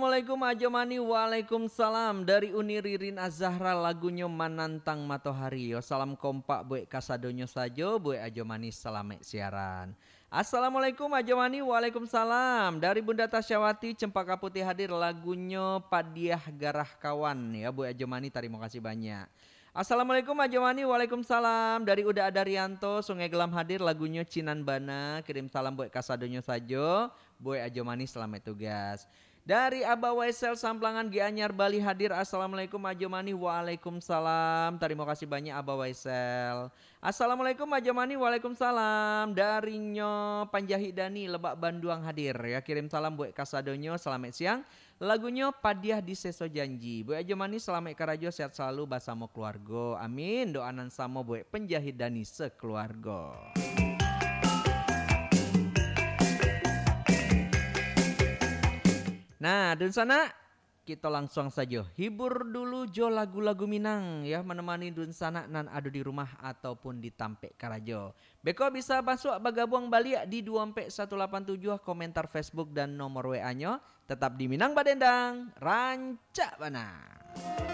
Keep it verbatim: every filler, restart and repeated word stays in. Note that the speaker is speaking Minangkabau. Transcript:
Assalamualaikum Ajo Mani. Waalaikumsalam. Dari Uni Ririn Azahra, lagunyo Manantang Matohari. Yo, salam kompak buek kasadonyo sajo, buek Ajo Mani, salamaik siaran. Assalamualaikum Ajo Mani. Waalaikumsalam. Dari Bunda Tasyawati, Cempaka Putih hadir, lagunyo Padiah Garah Kawan. Ya, buek Ajo Mani, tarimo kasih banyak. Assalamualaikum Ajo Mani. Waalaikumsalam. Dari Uda Adarianto, Sungai Gelam hadir, lagunyo Cinan Bana. Kirim salam buek kasadonyo sajo. Buek Ajo Mani, salamaik tugas. Dari Abah Waisel Samplangan Gianyar Bali hadir. Assalamualaikum Ajo Mani. Waalaikumsalam. Tarimo kasih banyak Abah Waisel. Assalamualaikum Ajo Mani. Waalaikumsalam. Darinyo Panjahit Dani Lebak Banduang hadir. Ya, kirim salam buek kasadonyo. Salamaik siang. Lagunyo Padiah di Seso Janji. Buek Ajo Mani, salamaik karajo, sehat salalu basamo keluargo. Amin. Doa nan samo buek Panjahit Dani sakeluargo. Nah, dunsanak, kito langsuang sajo hibur dulu jo lagu-lagu Minang, ya, manemani dunsanak nan ado di rumah ataupun di tampek karajo. Beko bisa masuak bagabuang baliak di duo ampek satu lapan tujuah, komentar Facebook dan nomor W A-nyo. Tetap di Minang Badendang, rancak bana.